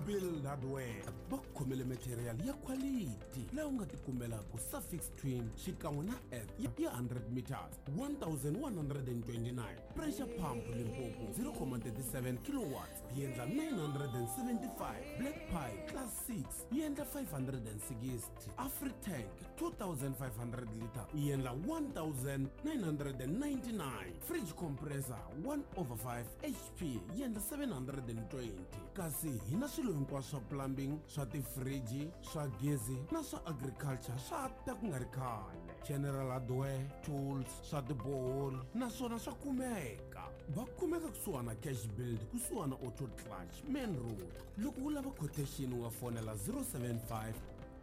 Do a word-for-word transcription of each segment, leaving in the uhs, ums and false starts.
Build Hardware va khomele material ya quality laha u nga tikumelaka Suffix Twin xikan'we na Earth ya one hundred meters one thousand one hundred twenty-nine, Pressure Pump Limpopo zero point three seven kilowatts yi endla nine hundred seventy-five, Black Pipe Class six yi endla five hundred sixty, AfriTank two thousand five hundred liter yi endla one thousand nine hundred ninety-nine, Fridge Compressor one over five H P yi endla seven hundred twenty. Kasi hi na swilo hinkwaswo swa plumbing, swa tifriji, swa gezi na swa agriculture swa ta ku nga ri khale. General Hardware, tools, swa tiboholi naswona swa kumeka. Va kumeka kusuhana Cash Build, kusuhana Auto Clutch, Main Road. Loko u lava quotation u nga fonela zero seven five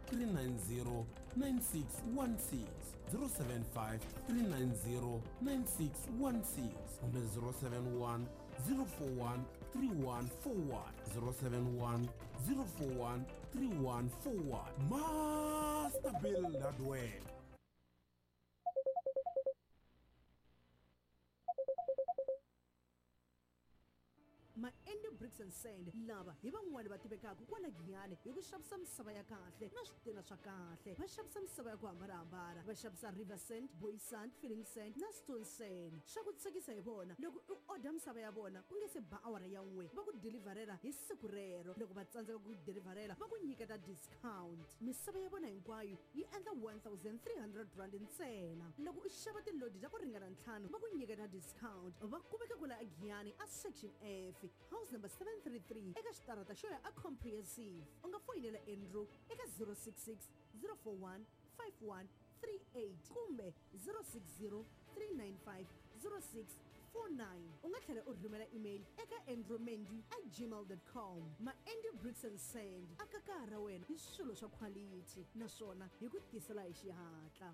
three nine zero nine six one six, zero seven five three nine zero nine six one six kumbe zero seven one zero four one three one four one, zero seven one zero four one three one four one. Master Build Hardware. Ma-Andy Bricks and Sand lava hi van'wani va tivekaka kwala Giyani hi ku xavisa misava ya kahle na switina swa kahle. Va xavisa misava ya ku hambanahambana, va xavisa river sand, boy sand, filling sand na stone sand. Swa ku tsakisa hi vona loko u order misava ya vona ku nge se ba awara ya n'we va ku deliverela hi siku rero. Loko va tsandzeka ku deliverela va ku nyiketa discount. Misava ya vona hinkwayo yi endla one thousand three hundred rand ntsena. Loko u xava tilodi ta ku ringana ntlhanu va ku nyiketa discount. Va kumeka kwala Giyani a section F, house number seven three three eka xitarata xo ya a comprehensive. U nga foyinela Andrew eka zero six six zero four one five one three eight kumbe zero six zero three nine five zero six four nine. U nga tlhela u rhumela email eka andrewmendy at gmail dot com. Ma-Andy Bricks and Sand aka kaya ra wena hi swilo swa quality naswona hi ku tisela hi xihatla.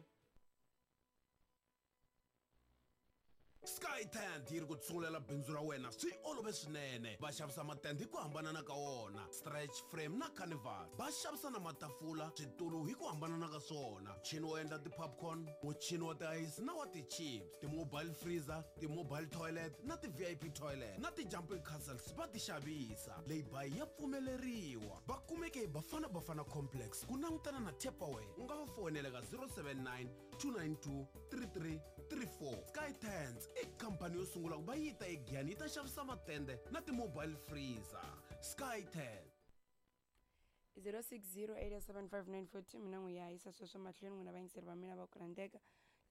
Sky Tent yi ri ku tsungulela bindzu ra wena swi olove swinene. Va xavisa matende hi ku hambanana ka wona, stretch frame na carnival. Va xavisa na matafula, switulu hi ku hambanana ka swona, muchini wo endla ti-popcorn, muchini wa ti-ice na wa ti-chips, ti-mobile freezer, ti-mobile toilet na ti-V I P toilet na ti-jumping castles va ti xavisa. Lay-by ya pfumeleriwa. Va kumeke hi Bafana Bafana Complex ku langutana na Tupperware. U nga va fonela ka zero seven nine two nine two three three three four. Sky Tents i khampani yo sungula ku va yi ta eGiyani yi ta xavisa matende na ti-mobile freezer. Sky Tent. zero six zero eight seven five nine four two. Mina n'wi ya yisa sweswo mahlweni n'wina vayingiseri va mina va ku rhandzeka.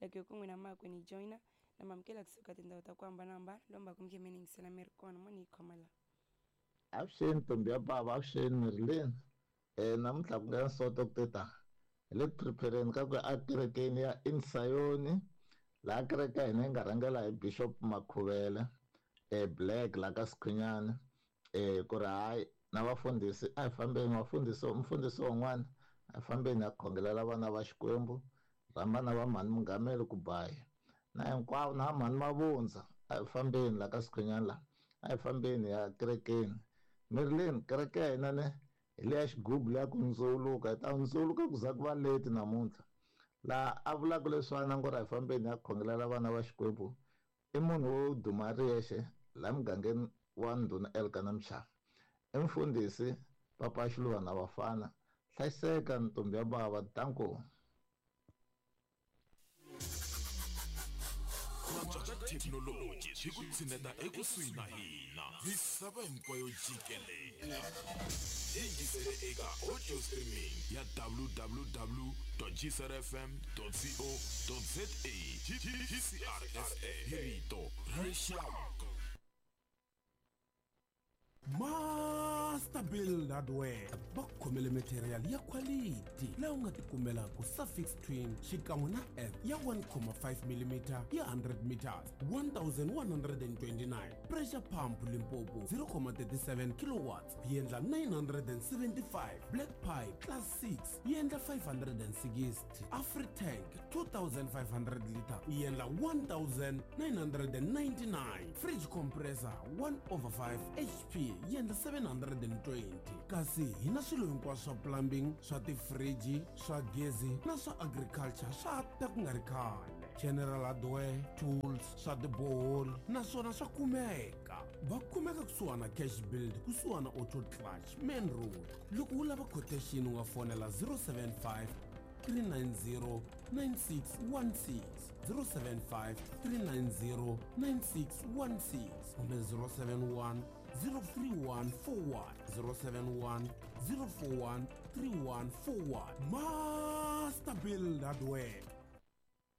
Loko hi ku n'wina makwenu yi joyina na mamukela kusuka tindhawu ta ku hambanahambana lomba ku mi khe mi ni yingisela mi ri kona mo ni yi khoma la. Avuxeni ntombi ya bava, avuxeni Marilyn. Eh namuntlha ku nga nsoto ku teta hi le ku prepareni ka ku ya ekerekeni ya Insayoni, laha kereke ya hina yi nga rhangela hi Bishop Makhuvele eh Black la ka Sikhunyana. Eh ku ri hayi na vafundhisi a hi fambeni, vafundhisi mfundhisi wun'wana a hi fambeni ya khongelela vana va Xikwembu, rhamba na va mhani Mungameli ku baya na hinkwavo na mhani Mavundza, a hi fambeni la ka Sikhunyana la, a hi fambeni ya kerekeni. Marilyn, kereke ya hina ne hi leya xigubu leya ku ndzuluka, hi ta ndzuluka ku za ku va leti namuntlha. Laha a vulaka leswi na ngo ri a hi fambeni ya khongelela vana va Xikwembu i munhu wo duma ri yexe laha mugangeni wa Ndhuna Elkana Mchava, i mfundhisi Papa Xiluva na Vafana. Hlayiseka ntombi ya bava, danko. Thekinoloji hi ku tshineta ekusuhi na hina misava hinkwayo jikelele. Yingisele eka audio streaming ya w w w dot g c r f m dot co dot z a. G C R F M hi rito ra rixaka. Master Build Hardware va khomele material ya quality laha u nga tikumelaka Suffix Twin xikan'we na Earth ya one point five millimeter ya one hundred meters one thousand one hundred twenty-nine, Pressure Pump Limpopo zero point three seven kilowatts yi endla nine hundred seventy-five, Black Pipe Class six yi endla five hundred sixty, AfriTank two thousand five hundred liter yi endla one thousand nine hundred ninety-nine, Fridge Compressor one over five H P yi endla seven hundred twenty. Kasi hi na swilo hinkwaswo swa plumbing, swa tifriji, swa gezi na swa agriculture swa ta ku nga ri khale. General Hardware, tools, swa tiboholi naswona swa kumeka. Va kumeka kusuhana Cash Build, kusuhana Auto Clutch, Main Road. Loko u lava quotation u nga fonela zero seven five three nine zero nine six one six, zero seven five three nine zero nine six one six kumbe zero seven one zero three one four one, zero seven one zero four one three one four one. Master Build Hardware.